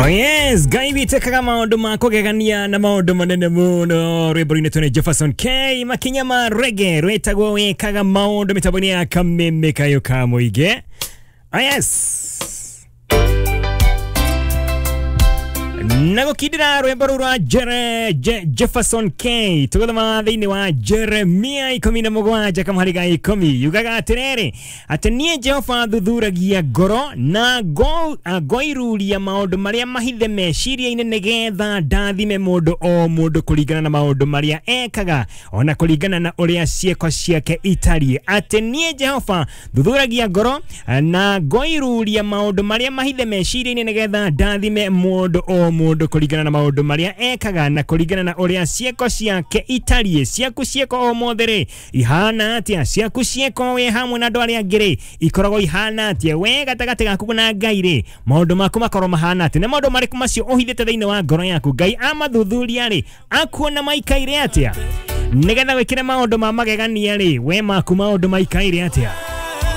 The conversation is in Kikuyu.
Yes, Ngai witĩkaga maũndũ ma kũgegania na maũndũ manene mũno. Rwĩmbo-inĩ tũnĩ Jefferson K makinya ma rege rwĩtagwo wĩkaga maũndũ mĩtambo-inĩ ya kameme kayũ ka mũingĩ. Oh yes, na gũkindĩra rwĩmbo rũu rwa Jefferson K tũgũthoma thĩinĩ wa Jeremia 17 kamũhari ga 10, yugaga atĩrĩrĩ atĩ niĩ Jehova thuthuragia ngoro na ngoiruria maũndũ marĩa mahithe meciria-inĩ, nĩgetha ndathime mũndũ o mũndũ kũringana na maũndũ marĩa ekaga ona kũringana na ũrĩa ciĩko ciake itariĩ. Atĩ niĩ Jehova thuthuragia ngoro na ngoiruria maũndũ marĩa mahithe meciria-inĩ, nĩgetha ndathime mũndũ o mũndũ kũringana na maũndũ marĩa ekaga na kũringana na ũrĩa ciĩko ciake itariĩ. Ciaku ciĩko o mothe rĩ ihana atĩa? Ciaku ciĩko wĩ hamwe na andũ arĩa angĩ rĩ ikoragwo ihana atĩa? We gatagatĩ gaku na Ngai rĩ, maũndũ maku makorwo mahana atĩa? Nĩ maũndũ marĩkũ macio ũhithĩte thĩinĩ wa ngoro yaku? Ngai amathuthuria rĩ, akuona maikaire atĩa? Nĩgetha wĩkĩre maũndũ ma magegania rĩ, we maku maũndũ maikaire atĩa?